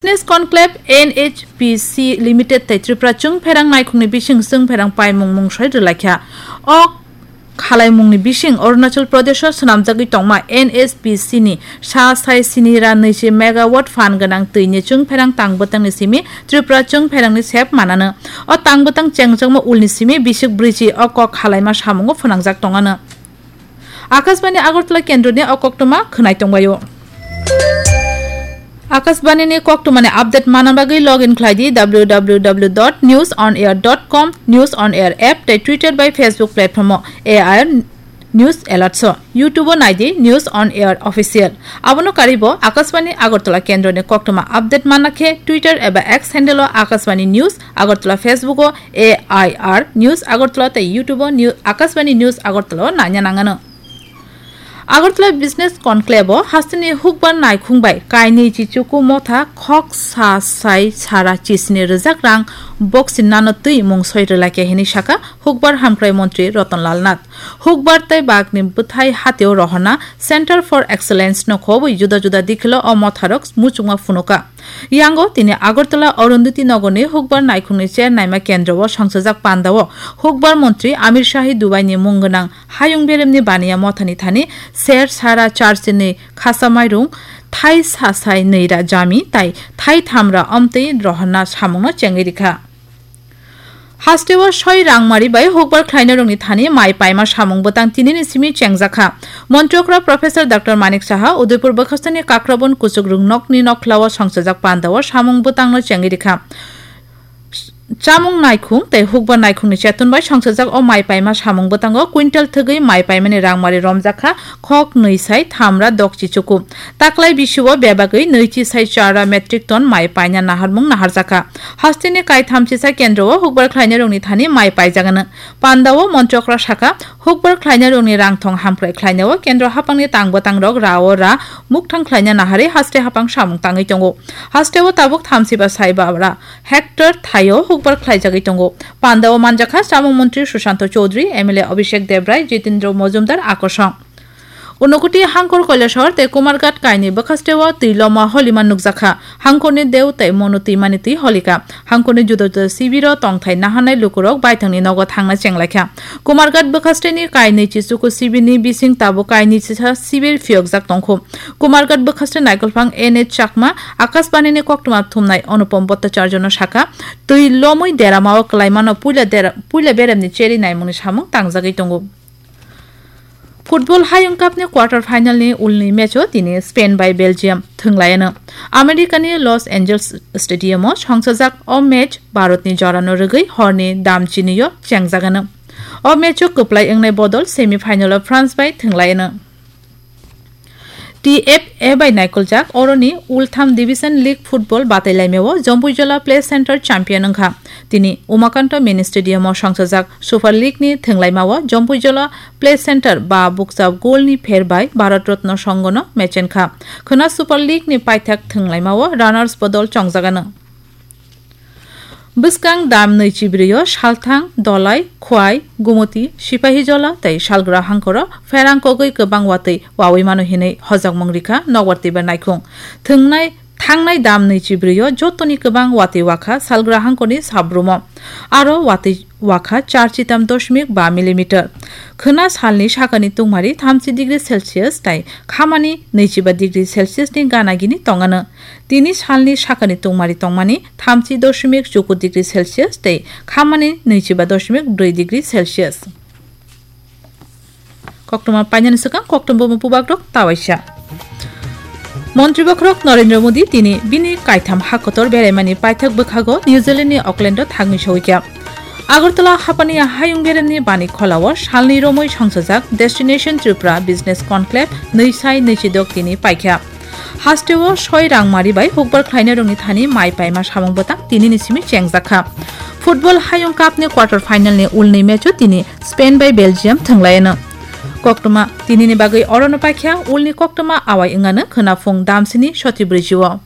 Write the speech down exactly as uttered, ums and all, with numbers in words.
Business Conclave N H P C Limited tei Tripura chwng pherang naikhungni bising chwng pherang paimung mungsoi rwlaikha. O khalaimungni bising Arunachal Pradesho swnamjagwi tongma N H P C ni sa sai sini ra nwichi megawatt phan gwnang twini chwng pherang tang bwtangni simi Tripura chwng pherangni sep manano. O tang bwtang chengjakma ulni simi bisik brwichi o kok khalaima samungo phwnangjak tongano. Akashbani Agartala kendroni o koktwma khwnai tongbaio. Akashbani ni koktwmani update manna bagwi log in khlai di W W W dot news on air dot com, News on Air app tei Twitter bai Facebook platform o A I R News Alert so, YouTube o nai di News on Air Official. Abono karwi bo Akashbani Agartala kendroni koktwma update manna khe Twitter eba X handle o Akashbani News Agartala, Facebook o A I R News Agartala tei YouTube o New-, Akashbani News Agartala o naina nangano. Agartala Business Conclave o hasteni hukbar naikhung bai kainwi chichuku motha khok sa sai sara chisni rwjak rang boxing nano twi mungsoi rwlaikha hinwi sakha hukbar hamkrai montri Ratan Lal Nath. Hukbar tei bagni bwthai hatio rohorna Center for Excellence no khobwi juda juda dikhilo o motharok muchungma phunuka. Yango tini Agartala Arundhati Nagarni hukbar naikhungni chair naima kendro o songchajak pandao hukbar montri Amir Shahi Dubai ni mung gwnang hayung beremni baniya mothani thani ser sara charchinwi khasa mairung, thai sasai nwi ra jami tai thai tham ra omtwi rohorna samungno chengwi rikha. Hasteo soi rangmari bai hukbar khlainarokni thani mai paima samung bwtang tinini simi chengjakha. Montri okra Professor Doctor Manik Saha Udaipur bwkhasteni Kakrabon kuchuk rwngnokni nokhlao songchajak pandao samung bwtangno chengwi rikha. Chamung naikhung tei hukbar naikhungni cheton bai songchajak o mai paima samung bwtango quintal thwgwi mai paimani rangmari romjakha khok nwi sai tham ra dokchi chuku. Taklai bisio bebagwi nwichi sai chara metric ton mai paina naharmung naharjakha. Hasteni kaithamchisa kendro o hukbar khlainarokni thani mai paijagano. Pandao montri okra sakha, hukbar khlainarokni rangthong hamkrai khlainao kendro haphangni tang bwtangrok rao ra mukthang khlaina naharwi haste haphang samung tangwi tongo. Hasteo tabuk thamsiba saiba ra hectare thaio hukbar khlaijagwi tongo. Pandao manjakha chamung montri Sushanto Chowdhury, M L A Abhishek Debrai, Jitendra Mojumdar, Akosong. Unakoti Hangkor Kailasahar tei Kumarghat kainwi bwkhasteo twi loma holima nukjakha. Hangkorni deu tei mono twimani twi holika. Hangkorni juda juda sibiro tongthai naharnai lukurok baithangni nogo thangna chenglaikha. Kumarghat bwkhasteni kainwi chichuku sibini bising tabuk kainwi chisa sibir phiyokjak tongkhu. Kumarghat bwkhaste naikolphang N H Chakma Akashbanini koktwma thumnai Anupam Bhattacharjano sakha, twi lomwi deramao kwlaimano puila dera-, puila beremni cherwi naimungni samung tangjagwi tongo. Football Hayung Cup ni quarter final ni ulni match o tini Spain bai Belgium thwnglaiano. America ni Los Angeles Stadium o songchajak o match Bharat ni jorano rwgwi horni dam chini o chengjagano. O match o kwplai wngnai bodol semi final o France bai thwnglaiano. T F A bai naikoljak oroni Ultham Division League Football batailaimao Jompuijola Play Center champion wngkha. Tini Umakanto Mini Stadium o songchajak Super League ni thwnglaimao Jompuijola Play Center ba bukcha goal ni pher bai Bharat Ratna Sangha no mechenkha. Khwna Super League ni paithak thwnglaimao runners bodol chongjagano. Bwskang dam nwi chibrwi o Salthang, Dolai, Khwai, Gumuti, Sipahijola tei Salgra hangkoro pherang kogwi kwbang watwi wawi mano hinwi hojakmung rikha nokbar twibar naikhung. Thwngnai, thangnai dam nwi chibrwi o jotoni kwbang watwi wakha Salgra hangkorni sabrumo. Aro watwi wakha char chitam doshmik ba millimeter. Khwna salni sakani tungmari thamchi degree Celsius tei khamani nwichiba degree Celsius ni gana gini tongano. Tini salni sakani tungmari tongmani thamchi doshmik chuku degree Celsius tei khamani nwichiba doshmik brwi degree Celsius. Koktwma painani swkang koktwma bubagrok tawaisa. Montri bokhorok Narendra Modi tini bini kaitham hakotor beraimani paithak bwkhago New Zealand ni Auckland o thangwi sogwikha. Agartala hapani hayung beremni bani kholao salni romwi songchajak Destination Tripura Business Conclave nwi sai nwi chidok tini paikha. Hasteo soi rangmari bai hukbar khlainarokni thani mai paima samung bwtang tinini simi chengjakha. Football Hayung Cup ni quarter final ni ulni match o tini Spain bai Belgium thwnglaiano. Koktwma tinini bagwi orono paikha ulni koktwma awai wngano khwnaphung damsini soti brwichi o.